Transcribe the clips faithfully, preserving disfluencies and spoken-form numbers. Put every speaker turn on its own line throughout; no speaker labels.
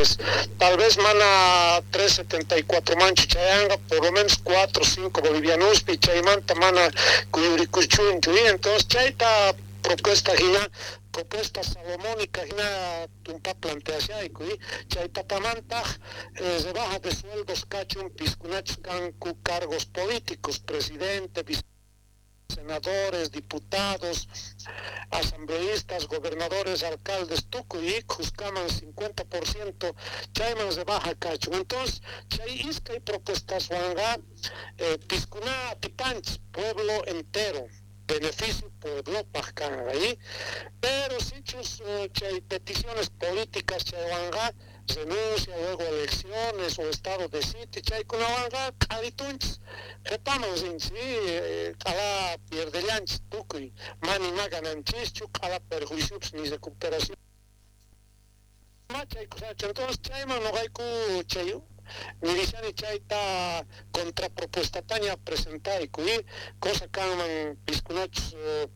Soles. Tal vez mana tres setenta y cuatro manchu chayanga, por lo menos cuatro o cinco bolivianospi, chaymanta mana kuyurikuchunchu. Y entonces chayta propuesta hina, propuesta salomónica hina tumpa planteashayku. Chay tapamantaq eh, rebaja de sueldos kachun piskunachus kanku cargos políticos, presidente, senadores, diputados, asambleístas, gobernadores, alcaldes, tukuy khuskaman cincuenta por ciento chayman rebaja kachun. Entonces, chay iskay propuestaswanqa eh, piskuna atipanchis, pueblo entero, beneficio pueblopaj kanqa. Pero sichus eh, chay peticiones políticas chaywanqa renuncia, luego elecciones o estado de sitio, chaykunawanqa q'aritunchis, qhipaman rinchis, q'ala pierdellanchis tukuy, mana ima gananchischu, q'ala perjuiciopis, ni recuperación chaykusachu. Entonces chayman noqayku chay nirishani chayta contrapropuestataña presentayku y cosa kanman piskunachus eh,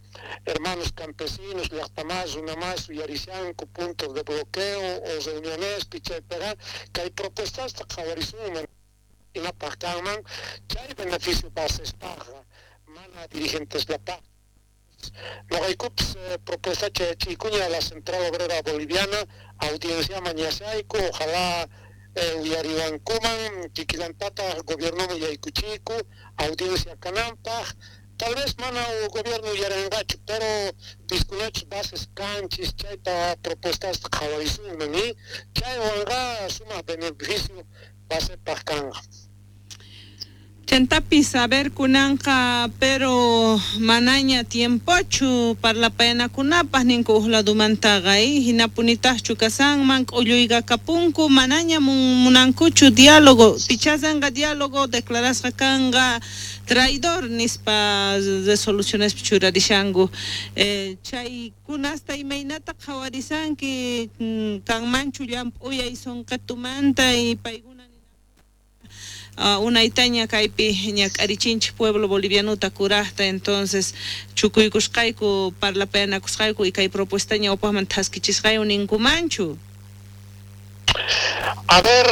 hermanos campesinos, llaqtamas, runamas uyarishanku puntos de bloqueo o reunionespi chaypiqa kay propuestasta qhawarisunman imapaq kanman chay beneficio basespaqqa, mana dirigenteslapaq. Noqaykupis eh, propuesta chayachiykuña a la Central Obrera Boliviana, audiencia mañashayku, ojalá eh, uyariwankuman, kikillantata gobiernoman yaykuchiyku audiencia kananpaq. Tal vez mana gobierno uyarinqachu, pero piskunachus bases kanchis chayta propuestasta qhawarisunman y chaywanqa sumaq beneficio basepaq kanqa.
Chantapis, a ver, kunanqa, pero manaña tiempochu parlapayanakunapaq ninku uj ladumantaqa, hinapunitaqchu kasanman k'ulluyqa kapunku, manaña munankuchu diálogo, pichasanqa diálogo declarasqa kanqa traidor nispa resolucionespi churarishanku. eh, chaykunasta imaynata qhawarisanki? Kanmanchu llamp'uyay sunqitumanta y paykuna uh, unaytaña kaypi ñak'arichinchik pueblo bolivianuta kurajta, entonces chukuykusqayku, parlapayanakusqayku y kay propuesta ñawpaqman thaskichisqayku ninkumanchu?
A ver,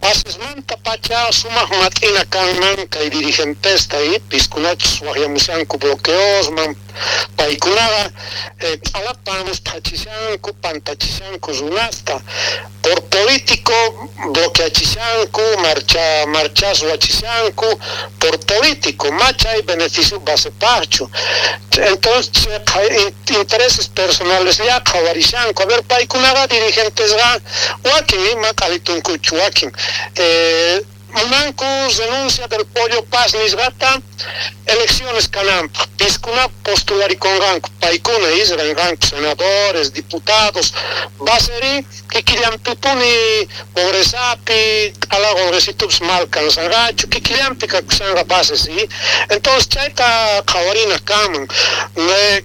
basesmanta pacha sumaq mat'ina kanman kay dirigentesta y piskunachus waqyamushanku bloqueosman, paykunaqa eh, q'alapamus phachishanku, pantachishanku runasta por político, bloqueachishanku, marcha marchas ruwachishanku por político, machay beneficio basepaqchu. Entonces intereses personales ya qhawarishanku. A ver, paykunaqa dirigentesqa wakin ima q'alitunkuchu, wakin eh, munanku renuncia del Pollo Paz nisqata, elecciones kananpaq, piskuna postularikunqanku, paykuna isranqanku senadores, diputados, baseri kikillanpipuni pobrezapi, q'ala qolqesitupis mal kansanqachu, kikillanpi kakushanqa bases. Y entonces chayta qhawarina kanman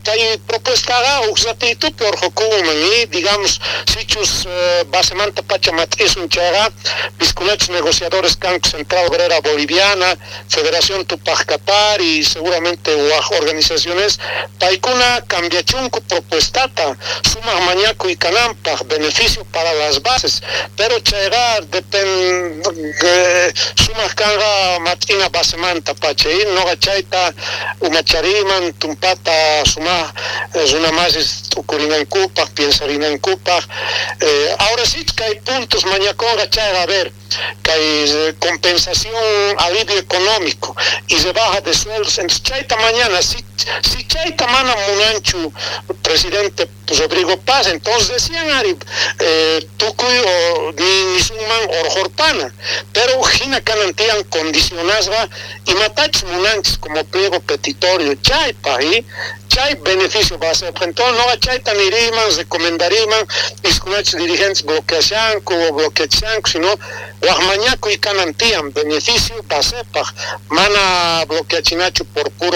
kay propuestaqa huk ratitupi urqukunman y digamos sichus eh, basemanta pacha mat'isun chayqa piskunachus negociadores kanku Central Obrera Boliviana, Federación Tupac Katari y seguramente waj organizaciones, paykuna cambiachunku propuestata sumaq mañakuy kananpaq, beneficio para las bases, pero chayqa depende, sumaq kanqa mat'ina basemanta pacha y noqa chayta umachariman tumpata sumaq runa masis t'ukurinankupaq, piensarinankupaq. eh, ahora sí kay puntos mañakunqa chayqa, a ver, kay compensación, alivio económico y rebaja de sueldos. Entonces chayta mañana, si, si chayta mana munanchu presidente Rodrigo Paz, entonces decían ari eh, tukuy o ni nisunman urqhorpana, pero hina kanan tiyan condicionasqa imatachus munanchis como pliego petitorio chaypa y chay beneficio va a ser. Entonces noqa chayta niriman, recomendariman piskunachus dirigentes bloqueashanku o bloqueachishanku, sino waj mañakuy kanan tiyan beneficio basepaj, mana bloqueachinachu por puro